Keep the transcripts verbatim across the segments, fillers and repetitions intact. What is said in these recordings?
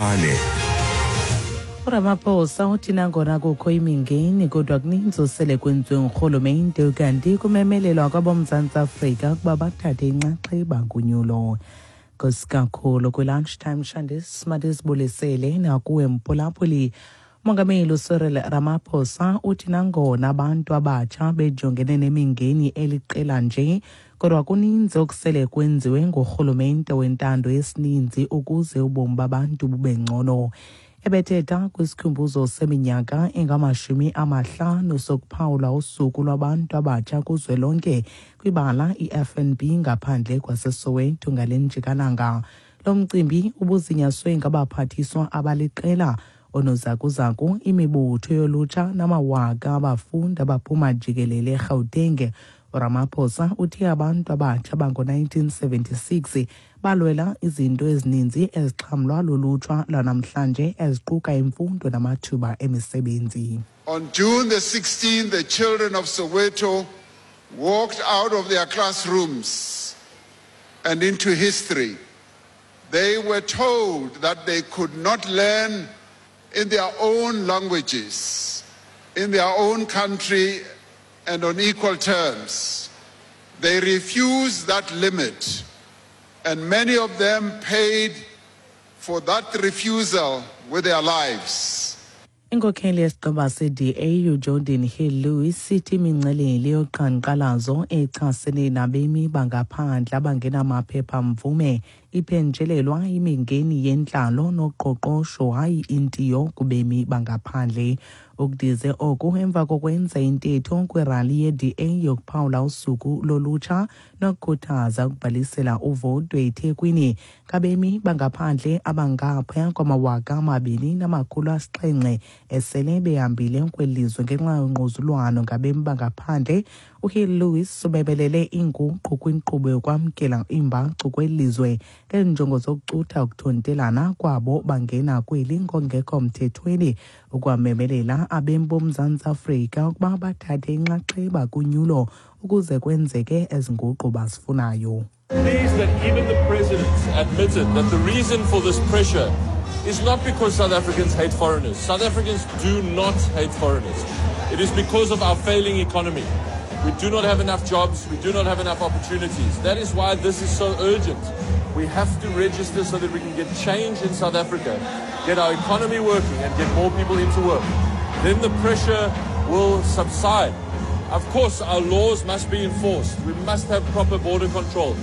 Phaphane. uRamaphosa uthi nangona kukho imingeni kodwa kuninzi osele kwenziwe ngurhulumente, kanti kumemelelwa kwaboMzantsi Afrika ukuba bathathe inxaxheba kunyulo. Nkosi kakhulu kwi-lunchtime shandis masizibulisele nakuwe mphulaphuli. Umongameli uCyril Ramaphosa uthi nangona abantu abatsha bejongene nemingeni eliqela nje, kodwa kuninzi okusele kwenziwe ngurhulumente wentando yesininzi ukuze ubomi babantu bube ngcono. Ebethetha kwisikhumbuzo seminyaka engamashumi amahlanu sokuphawula usuku lwabantu abatsha kuzwelonke kwibala i-F N B ngaphandle kwaseSoweto ngale njikalanga. Lo mcimbi ubuzinyaswe ngabaphathiswa abaliqela, onozakuzaku, imibutho yolutsha namawaka abafundi abaphuma jikelele eGauteng. uRamaphosa uthe abantu abatsha bango-nineteen seventy-six balwela izinto ezininzi ezixhamlwa lulutsha lwanamhlanje, eziquka imfundo namathuba emisebenzi. On June the sixteenth, the children of Soweto walked out of their classrooms and into history. They were told that they could not learn in their own languages, in their own country, and on equal terms. They refused that limit, and many of them paid for that refusal with their lives. Inkokheli yesigqeba se-D A uGeordin Hill-Lewis sithi imingcelele yoqhankqalazo echasene nabemi bangaphandle abangenamaphepha-mvume iphenjelelwa imingeni yentlalo noqoqosho, hayi intiyo kubemi bangaphandle. Ukudize oku emva kokwenza intetho kwirali ye-D A yokuphawula usuku lolutsha nokukhuthaza ukubhalisela uvoto eThekwini ngabemi bangaphandle abangaphaya kwamawaka amabini namakhulu asixhenxe esele behambile kweli lizwe ngenxa yongquzulwano ngabemi bangaphandle. UHill Lewis ubebelele inguqu kwinkqubo yokwamkela iimbacu kweli lizwe ngeenjongo zokucutha ukuthontelana kwabo bangena kweli ngongekho mthethweni, ukwamemelela abemi boMzantsi Afrika ukuba bathathe inxaxheba kunyulo ukuze kwenzeke ezi nguqu bazifunayo. Pleased that even the president admitted that the reason for this pressure is not because South Africans hate foreigners. South Africans do not hate foreigners. It is because of our failing economy. We do not have enough jobs. We do not have enough opportunities. That is why this is so urgent. We have to register so that we can get change in South Africa, get our economy working and get more people into work. Then the pressure will subside. Of course, our laws must be enforced. We must have proper border control.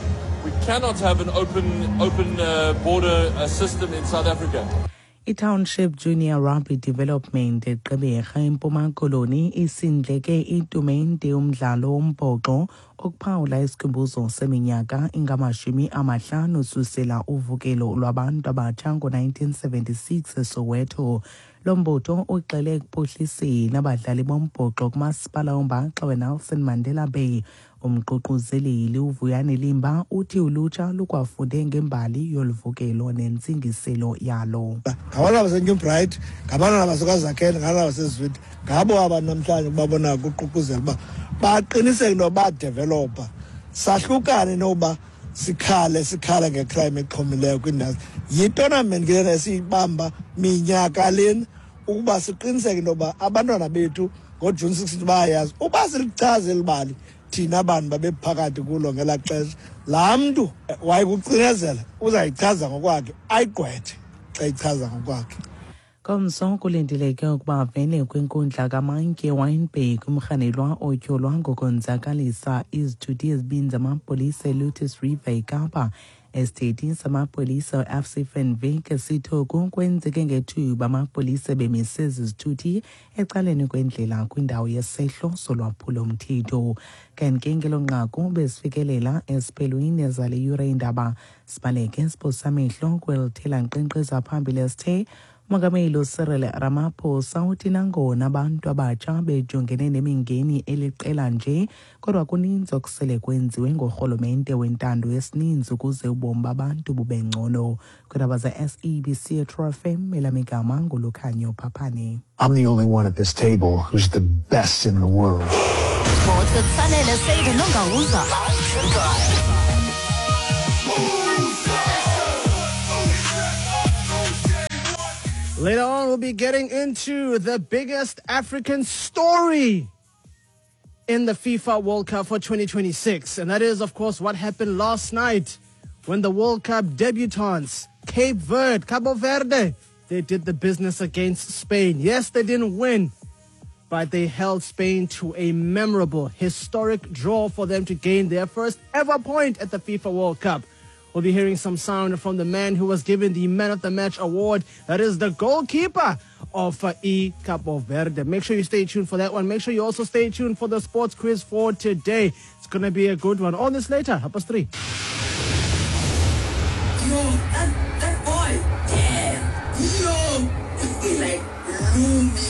We cannot have an open, open uh, border uh, system in South Africa. I-Township Junior Rugby Development eGqeberha eMpuma Koloni isindleke itumente yomdlalo wombhoxo okuphawula isikhumbuzo seminyaka engamashumi amahlanu susela uvukelo lwabantu abatsha ngo-nineteen seventy-six eSoweto. Lo mbutho uxele ekuphuhliseni abadlali bombhoxo kumasipala ombaxa weNelson Mandela Bay. Umququzeleli uVuyani Limba uthi ulutsha lukwafunde ngembali yoluvukelo nentsingiselo yalo. Ngabantwana baseNew Bright, ngabantwana baseKwaZakhele, ngabantwana baseZwide, ngabo abantu namhlanje ubabona kuququzela uba baqiniseke into badevelopa, sahlukane noba sikhale sikhale ngecrime exhomileyo kwindawo. Yitournament ke lena esiyibamba minyaka lena ukuba siqiniseke into yoba abantwana bethu ngoJune sixteen bayayazi uba silichaze eli bali. Thina bantu babephakathi kulo ngelaa xesha, laa mntu wayekucinezela uzayichaza ngokwakhe, ayigqwethe xa ichaza ngokwakhe. Ngomso kulindeleke ukuba avele kwinkundla kamantyi eWynberg umrhanelwa otyholwa ngokonzakalisa izithuthi ezibini zamapolisa eLotus River eKapa. Isithethi samapolisa u-F C van Wyk sithi oku kwenzeke ngethuba amapolisa bemise ezi zithuthi ecaleni kwendlela kwindawo yesehlo solwaphulo-mthetho. Kanti ke ngelo nqaku besifikelela esiphelweni zale yure iindaba. Sibaleke siphosa amehlo kwelithela nkqenkqeza phambili esithe umongameli uCyril Ramaphosa uthi nangona abantu abatsha bejongene nemingeni eliqela nje, kodwa kuninzi okusele kwenziwe ngurhulumente wentando yesininzi ukuze ubomi babantu bube ngcono. Kwiindaba ze-S A B C True F M, elam igama nguLukhanyo Phaphane. I'm the only one at this table who's the best in the world. Sports with Sanele Seydu Nongawuza. Later on, we'll be getting into the biggest African story in the FIFA World Cup for twenty twenty-six. And that is, of course, what happened last night when the World Cup debutants, Cape Verde, Cabo Verde, they did the business against Spain. Yes, they didn't win, but they held Spain to a memorable, historic draw for them to gain their first ever point at the FIFA World Cup. We'll be hearing some sound from the man who was given the Man of the Match award. That is the goalkeeper of E Cabo Verde. Make sure you stay tuned for that one. Make sure you also stay tuned for the sports quiz for today. It's going to be a good one. All this later, half past three. Yo, that, that boy, damn, yo, he like looming.